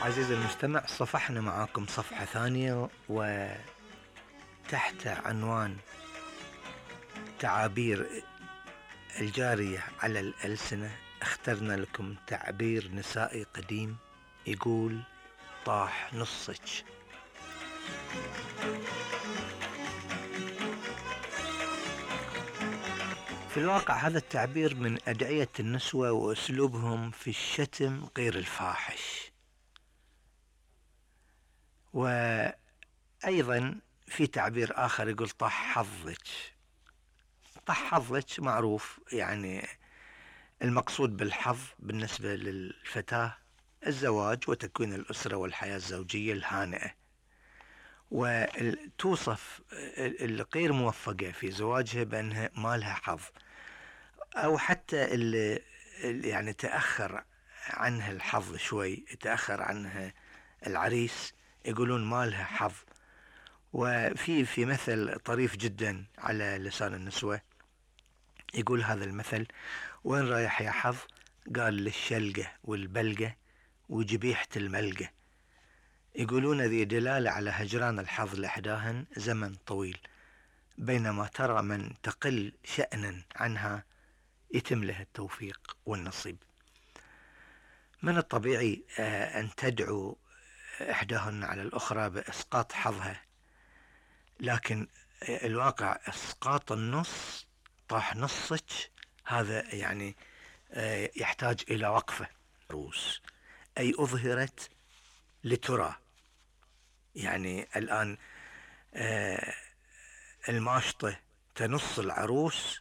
عزيزي المستمع، صفحنا معاكم صفحة ثانية وتحت عنوان تعابير الجارية على الألسنة اخترنا لكم تعبير نسائي قديم يقول: طاح نصك. في الواقع هذا التعبير من أدعية النسوة وأسلوبهم في الشتم غير الفاحش. وأيضا في تعبير آخر يقول: طاح حظك. طاح حظك معروف، يعني المقصود بالحظ بالنسبة للفتاة الزواج وتكوين الأسرة والحياة الزوجية الهانئة، وتوصف الغير موفقة في زواجها بأنها ما لها حظ، أو حتى اللي يعني تأخر عنها الحظ شوي، تأخر عنها العريس، يقولون ما لها حظ. وفي مثل طريف جدا على لسان النسوة يقول هذا المثل: وين رايح يا حظ؟ قال: للشلقة والبلقة وجبيحة الملقة. يقولون ذي دلالة على هجران الحظ لإحداهن زمن طويل، بينما ترى من تقل شأنا عنها يتم لها التوفيق والنصيب. من الطبيعي أن تدعو إحداهن على الأخرى بإسقاط حظها، لكن الواقع إسقاط النص، طاح نصك، هذا يعني يحتاج إلى وقفة. عروس أي أظهرت لترى، يعني الآن الماشطة تنص العروس